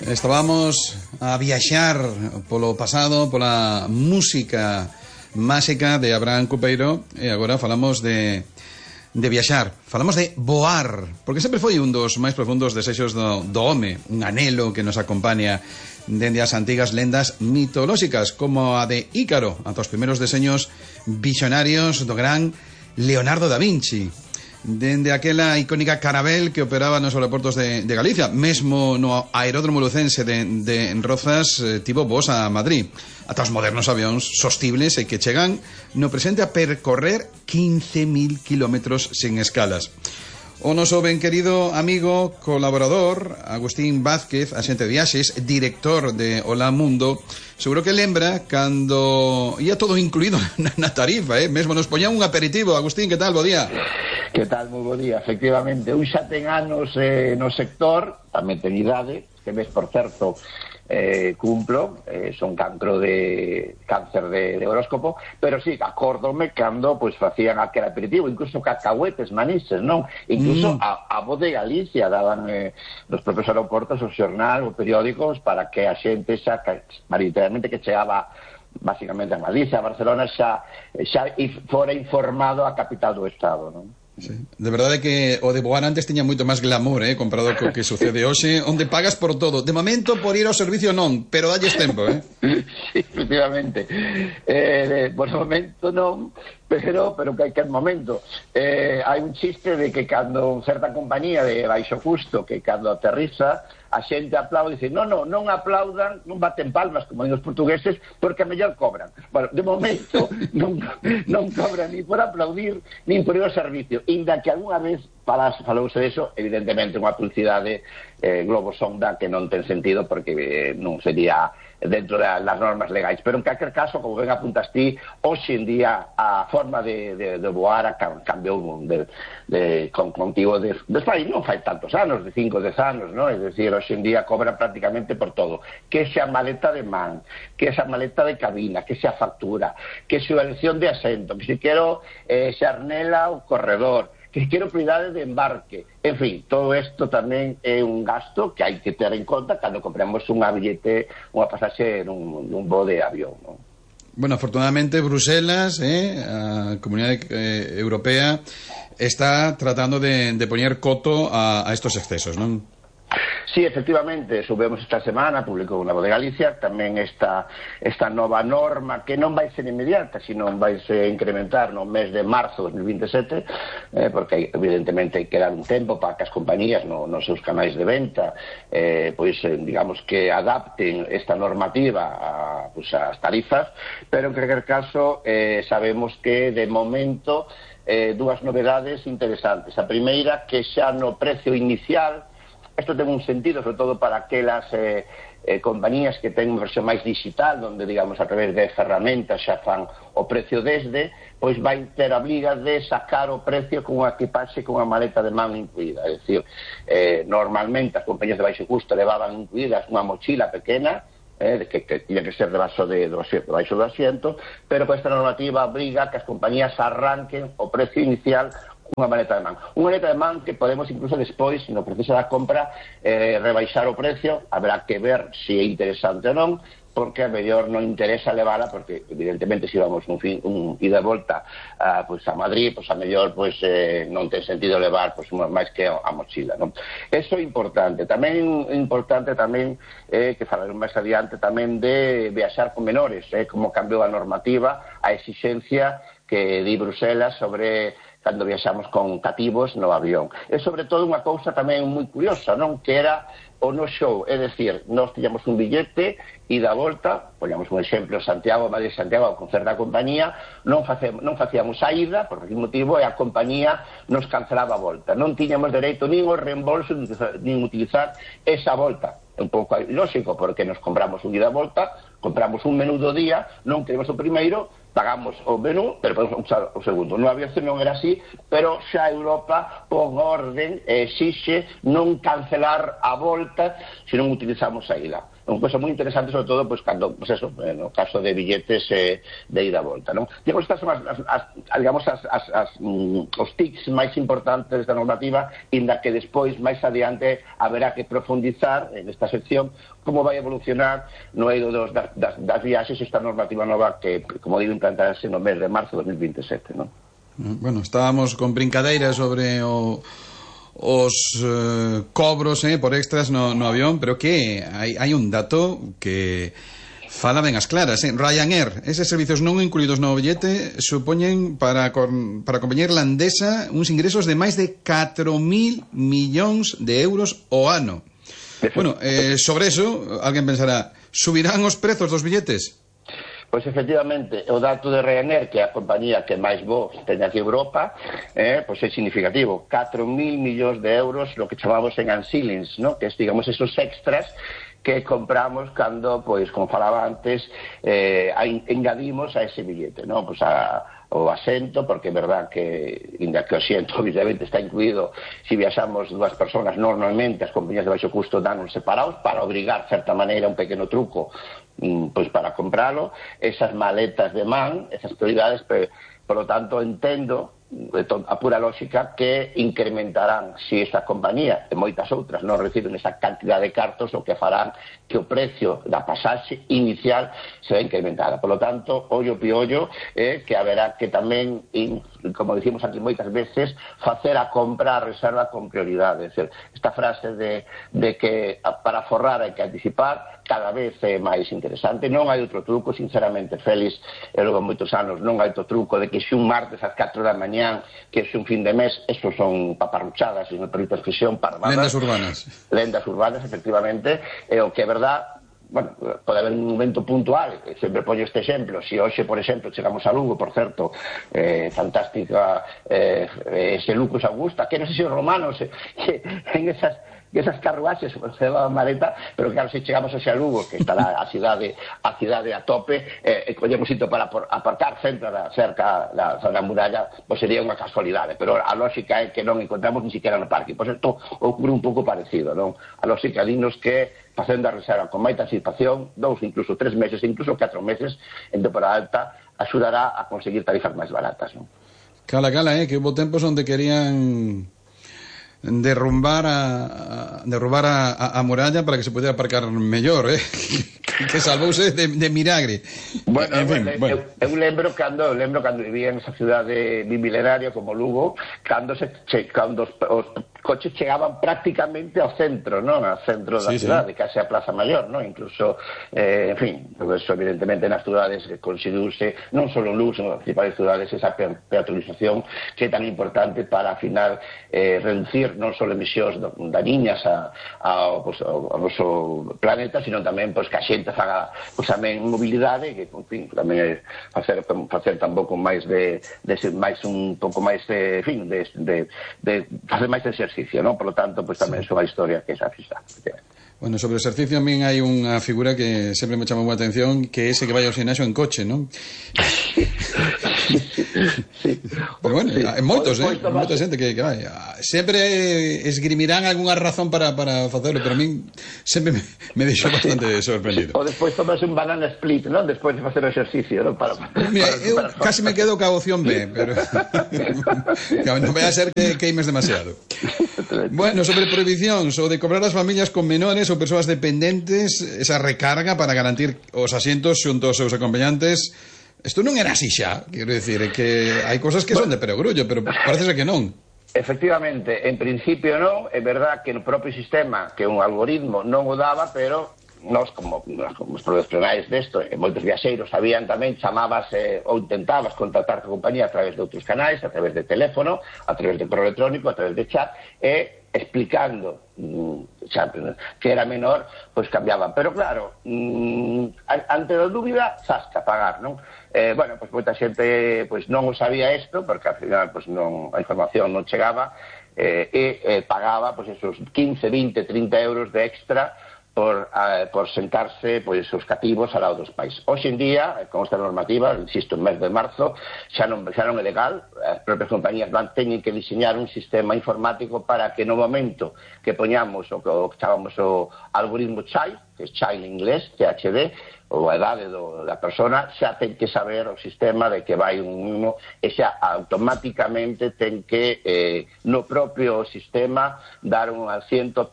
Estábamos a viaxar polo pasado, pola música máxica de Abraham Cupeiro, e agora falamos de viaxar, falamos de voar, porque sempre foi un dos máis profundos desexos do home, un anhelo que nos acompaña dende as antigas lendas mitolóxicas, como a de Ícaro, ata os primeiros deseños visionarios do gran Leonardo da Vinci. Dende aquela icónica Carabel que operaba nos aeroportos de Galicia, mesmo no aeródromo lucense de Rozas, tivo voos a Madrid, ata os modernos avións sostibles e que chegan no presente a percorrer 15.000 kilómetros sen escalas. O noso ben querido amigo, colaborador, Agustín Vázquez, axente de viaxes, director de Hola Mundo, seguro que lembra cando ia todo incluído na tarifa, mesmo nos poñan un aperitivo. Agustín, que tal? Bo día. Que tal? Moi bo día, efectivamente. Un xa ten anos no sector, tamén ten idade, que ves, por certo, cumplo, son cáncer de horóscopo, pero sí, acórdome cando pois facían aquel aperitivo, incluso cacahuetes, manises, non? Incluso a Voz de Galicia daban nos propios aeroportos o xornal, o periódicos, para que a xente xa, maioritariamente, que chegaba basicamente a Galicia, a Barcelona, xa fora informado a capital do estado, non? Sí. De verdade que o de voar antes tiña moito máis glamour, comparado co que sucede hoxe, onde pagas por todo. De momento, por ir ao servicio non, pero dalles tempo, Sí, efectivamente. Por momento non, pero que hai que momento. Hai un chiste de que cando certa compañía de baixo custo, que cando aterriza, a xente aplaude e dice, non aplaudan, non baten palmas, como digo os portugueses, porque a mellor cobran. Bueno, de momento non cobran ni por aplaudir, nin por ir ao servicio. Inda que algunha vez falouse deso, evidentemente unha publicidade globo sonda que non ten sentido, porque non sería dentro das normas legais, pero en calquer caso, como ben apuntas ti, hoxe en día a forma de voar cambiou con motivo desfai, non fai tantos anos, de 5 ou 10 anos, non? É dicir, hoxe en día cobran prácticamente por todo, que xa maleta de man, que xa maleta de cabina, que xa factura, que xa elección de asento, que se quero xarnela ou corredor, que quero prioridade de embarque. En fin, todo isto tamén é un gasto que hai que ter en conta cando compramos unha pasaxe nun voo de avión, non? Bueno, afortunadamente Bruselas, a Comunidade Europea, está tratando de poñer coto a estos excesos, non? Sí, efectivamente, subemos esta semana, publicou na Voz de Galicia, tamén esta nova norma que non vai ser inmediata, sino vai se incrementar no mes de marzo de 2027, porque evidentemente hai que dar un tempo para que as compañías nos seus canais de venta digamos que adapten esta normativa ás tarifas, pero en calquer caso sabemos que de momento dúas novedades interesantes. A primeira, que xa no precio inicial, isto ten un sentido, sobre todo para aquelas compañías que ten unha versión máis digital, onde, digamos, a través de ferramentas xa fan o precio desde, pois vai ter a obriga de sacar o precio con unha equipaxe con unha maleta de man incluída. É dicir, normalmente as compañías de baixo custo levaban incluídas unha mochila pequena, que tiña que ser debaixo do asiento, pero con esta normativa obriga que as compañías arranquen o precio inicial unha maleta de man. Unha maleta de man que podemos incluso despois, no proceso da compra, rebaixar o precio. Habrá que ver se é interesante ou non, porque a mellor non interesa levala, porque evidentemente se vamos un ida e volta a Madrid, a mellor non ten sentido levar máis que a mochila, non? Eso é importante. Tamén importante que falaremos máis adiante tamén de viaxar con menores, como cambiou a normativa, a exigencia que di Bruselas sobre cando viaxamos con cativos no avión. E sobre todo unha cousa tamén moi curiosa, non? Que era o no show, é dicir, nós tiñamos un billete e da volta, poñamos un exemplo, Madrid-Santiago, con certa compañía, non facíamos a ida, por aquel motivo, e a compañía nos cancelaba a volta. Non tiñamos dereito nin o reembolso, nin utilizar esa volta. É un pouco ilóxico, porque nos compramos un ida e volta, compramos un menú do día, non queremos o primeiro, pagamos o menú, pero podemos usar o segundo. No aviación non era así, pero xa Europa, por orden, exixe non cancelar a volta se non utilizamos a ida. unha cosa moi interesante, sobre todo, pois, cando, pois eso, no caso de billetes de ida a volta, non? Digamos, estas son os tics máis importantes da normativa, inda que despois, máis adiante, haberá que profundizar en esta sección como vai evolucionar no eido das viaxes esta normativa nova que, como digo, implantarase no mes de marzo de 2027, non? Bueno, estábamos con brincadeiras sobre os cobros por extras no avión, pero que hai un dato que fala ben as claras, Ryanair, eses servicios non incluídos no billete supoñen para a compañía irlandesa uns ingresos de máis de 4.000 millóns de euros ao ano. Bueno, sobre eso, alguén pensará, subirán os prezos dos billetes? Pois efectivamente, o dato de Ryanair, que é a compañía que máis voos ten aquí en Europa, pois é significativo. 4.000 millóns de euros, lo que chamamos en ancillings, ¿no? Que es, digamos, esos extras que compramos cando, pois, como falaba antes, engadimos a ese billete, ¿no? Pois o asento, porque é verdad que, inda que o asiento obviamente está incluído, si viaxamos dúas persoas, normalmente as compañías de baixo custo danos separados para obrigar, de certa maneira, un pequeno truco pois para compralo, esas maletas de man, esas prioridades, por lo tanto, entendo a pura lógica que incrementarán si esta compañía e moitas outras non reciben esa cantidad de cartos, o que farán que o precio da pasaxe inicial se va incrementada. Por lo tanto, ollo piollo, que haberá que tamén, como dicimos aquí moitas veces, facer a compra, a reserva con prioridade. É dicir, esta frase de que para forrar hai que anticipar cada vez é máis interesante. Non hai outro truco, sinceramente, Félix, e logo moitos anos non hai outro truco de que se un martes ás 4 da mañán, que se un fin de mes, eso son paparruchadas, se me permite a expresión, parvadas. Lendas urbanas. Lendas urbanas, efectivamente, e o que é verdad, bueno, pode haber un momento puntual, sempre poño este exemplo, se hoxe, por exemplo, chegamos a Lugo, por certo, fantástica, ese Lucus Augusta, que non sei se os romanos en esas carruaxes se levaban maleta, pero claro, se chegamos a Lugo, que está a cidade a tope, e collemos sitio para aparcar cerca da zona muralla, pois sería unha casualidade, pero a lógica é que non encontramos ni siquiera no parque. Pois isto ocurre un pouco parecido, non? A lógica dinos que facendo a reserva con máis anticipación, 2, incluso 3 meses, incluso 4 meses en temporada alta, axudará a conseguir tarifas máis baratas, non? Cala, que hubo tempos onde querían derrumbar a muralla para que se pudiera aparcar mellor, que salvouse de milagre. Bueno, eu lembro cando vivía en esa cidade bimilenaria como Lugo, cando os coches chegaban prácticamente ao centro, non? Ao centro da cidade, case a Plaza Maior, non? Incluso, en fin, eso evidentemente nas cidades conseguiuse, non só en Lugo, sino nas principales cidades, esa peatonalización que é tan importante para, al final, reducir non só emisións dañiñas ao noso planeta, sino tamén que a xente faga tamén mobilidade, que, en fin, tamén é facer tampouco máis un pouco máis de facer máis exercicio, non? Por lo tanto, tamén é unha historia que é esa fisa. Bueno, sobre o exercicio a min hai unha figura que sempre me chamou a atención, que é ese que vai ao gimnasio en coche, non? Sí. Pero bueno, hai moita xente que vai. Sempre esgrimirán algunha razón para facelo, pero a min sempre me deixou bastante sorprendido. Ou despois tomas un banana split, non? Despois de facer o exercicio, non? Mira, eu casi me quedo ca opción B, pero non vai a ser que queimes demasiado. Bueno, sobre prohibicións, o de cobrar as familias con menores ou persoas dependentes esa recarga para garantir os asientos xunto aos seus acompañantes. Isto non era así xa, quero dicir, que hai cosas que son de perogrullo, pero parece ser que non. Efectivamente, en principio non, é verdad que no propio sistema, que un algoritmo non o daba, pero nós, como os profesionais desto, e moitos viaxeiros sabían tamén, chamabas ou intentabas contactar con a compañía a través de outros canais, a través de teléfono, a través de correo electrónico, a través de chat, e explicando que era menor, pois cambiaban. Pero claro, ante a dúbida, zasca, pagar, non? Bueno, pois moita xente non o sabía isto, porque ao final a información non chegaba, e pagaba esos 15, 20, 30 euros de extra por sentarse pois, os cativos ao lado dos pais. Hoxe en día, con esta normativa, insisto, en mes de marzo, xa non é legal, as propias compañías teñen que diseñar un sistema informático para que no momento que poñamos o que chamamos o algoritmo child, que é child en inglés, CHD, ou a idade da persona, xa ten que saber o sistema de que vai un e xa automáticamente ten que no propio sistema dar un asiento